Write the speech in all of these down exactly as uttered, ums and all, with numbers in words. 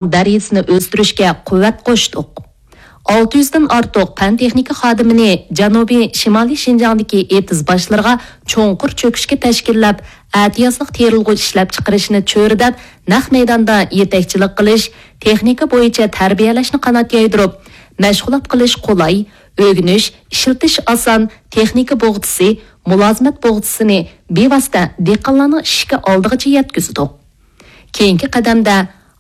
دەرىجىسىنى ئۆستۈرۈشكە قۇۋۋەت قوشتۇق. ئالتە يۈزدىن ئارتۇق پەن-تېخنىكا خادىمىنى جەنۇبىي شىمالىي شىنجاڭدىكى ئېتىز باشلىرىغا چوڭقۇر چۆكۈشكە تەشكىللەپ، ئەتىيازلىق تېرىلغۇ ئىشلەپچىقىرىشنى چۆرىدەپ، نەق مەيداندا يېتەكچىلىك قىلىش، تېخنىكا بويىچە تەربىيەلەشنى قانات يايدۇرۇپ، مەشغۇلات قىلىش قولاي، ئۆگىنىش، ئىشلىتىش ئاسان، تېخنىكا بوغچىسى، مۇلازىمەت بوغچىسىنى بىۋاسىتە دېھقانلارنىڭ ئىشىكى ئالدىغىچە يەتكۈزدۇق. كېيىنكى قەدەمدە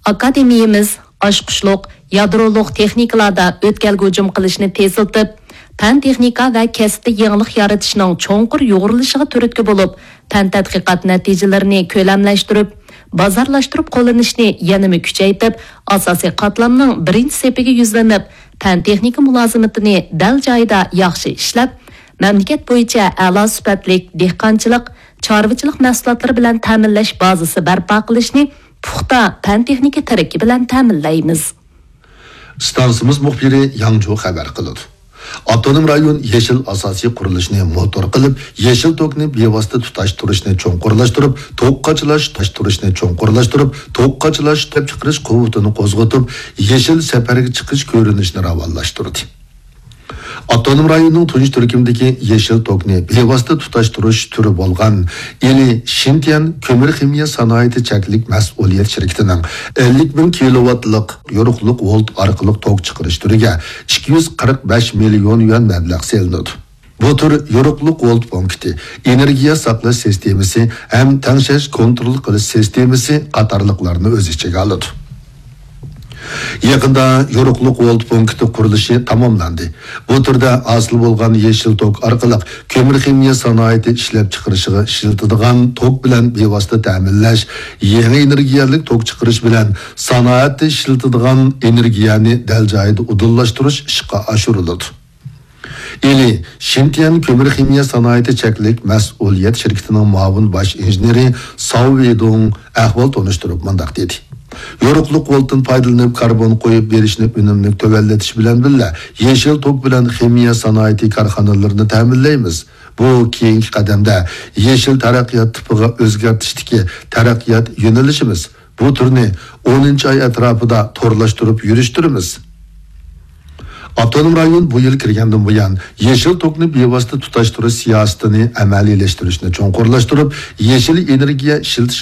ئاكادېمىيىمىز ئاچقۇچلۇق، يادرولۇق تېخنىكىلاردا ئۆتكەلگە ھۇجۇم قىلىشنى تېزلىتىپ، پەن-تېخنىكا ۋە كەسىپتە يېڭىلىق يارىتىشنىڭ چوڭقۇر يۇغۇرۇلۇشىغا تۈرتكە بولۇپ، پەن تەتقىقات نەتىجىلىرىنى كۆلەملەشتۈرۈپ، بازارلاشتۇرۇپ قوللىنىشنى يەنىمۇ كۈچەيتىپ، ئاساسىي قاتلامنىڭ بىرىنچى سېپىگە يۈزلىنىپ، پەن-تېخنىكا مۇلازىمىتىنى دەل جايىدا ياخشى ئىشلەپ، مەملىكەت بويىچە ئەلا سۈپەتلىك دېھقانچىلىق، چارۋىچىلىق مەھسۇلاتلىرى بىلەن تەمىنلەش بازىسى بەرپا قىلىشنى پۇختا پەن-تېخنىكا تىرىكى بىلەن تەمىنلەيمىز. ئىستانسىمىز مۇخبىرى ياڭجۇ خەۋەر قىلىدۇ. ئاپتونوم رايون يېشىل ئاساسىي قۇرۇلۇشنى موتور قىلىپ، يېشىل توكنى بىۋاسىتە تۇتاشتۇرۇشنى چوڭقۇرلاشتۇرۇپ، توك قاچىلاش تۇتاشتۇرۇشنى چوڭقۇرلاشتۇرۇپ، توك قاچىلاش ئىشلەپچىقىرىش قۇۋۋىتىنى قوزغىتىپ، يېشىل سەپەرگە چىقىش كۆرۈنۈشىنى راۋانلاشتۇردى. ئاپتونوم رايوننىڭ تۇنجى تۈركۈمدىكى يېشىل توكنى بىۋاسىتە تۇتاشتۇرۇش تۈرى بولغان ئىلى شىنتيەن كۆمۈر خىمىيە سانائىتى چەكلىك مەسئۇلىيەت شىركىتىنىڭ ئەللىك مىڭ كىلوۋاتلىق يورۇقلۇق ۋولت ئارقىلىق توك چىقىرىش تۈرىگە ئىككى يۈز قىرىق بەش مىليون يۈەن مەبلەغ سېلىنىدۇ. بۇ تۈر يورۇقلۇق ۋولت پونكىتى، ئېنېرگىيە ساقلاش سىستېمىسى ھەم تەڭشەش كونترول قىلىش سىستېمىسى قاتارلىقلارنى ئۆز ئىچىگە ئالىدۇ. يېقىندا يورۇقلۇق ۋولت پونكىتى قۇرۇلۇشى تاماملاندى. بۇ تۈردە ھاسىل بولغان يېشىل توك ئارقىلىق كۆمۈر خىمىيە سانائىتى ئىشلەپچىقىرىشىغا ئىشلىتىدىغان توك بىلەن بىۋاسىتە تەمىنلەش، يېڭى ئېنېرگىيەلىك توك چىقىرىش بىلەن سانائەتتە ئىشلىتىدىغان ئېنېرگىيەنى دەل جايىدا ئۇدۇللاشتۇرۇش ئىشقا ئاشۇرۇلىدۇ. ئىلى شىنتيەن كۆمۈر خىمىيە سانائىتى چەكلىك مەسئۇلىيەت شىركىتىنىڭ مۇئاۋىن باش ئىنژېنېرى ساۋ ۋېيدۇڭ ئەھۋال تونۇشتۇرۇپ مۇنداق دېدى: يورۇقلۇق ۋولتتىن پايدىلىنىپ، كاربون قويۇپ بېرىشنى ئۈنۈملۈك تۆۋەنلىتىش بىلەن بىللە، يېشىل توك بىلەن خىمىيە سانائىتى كارخانىلىرىنى تەمىنلەيمىز. بۇ كېيىنكى قەدەمدە يېشىل تەرەققىيات تىپىغا ئۆزگەرتىشتىكى تەرەققىيات يۆنىلىشىمىز. بۇ تۈرنى ئونىنچى ئاي ئەتراپىدا تورلاشتۇرۇپ يۈرۈشتۈرىمىز. ئاپتونوم رايون بۇ يىل كىرگەندىن بۇيان، يېشىل توكنى بىۋاسىتە تۇتاشتۇرۇش سىياسىتىنى ئەمەلىيلەشتۈرۈشنى چوڭقۇرلاشتۇرۇپ، يېشىل ئېنېرگىيە ئىشلىتىش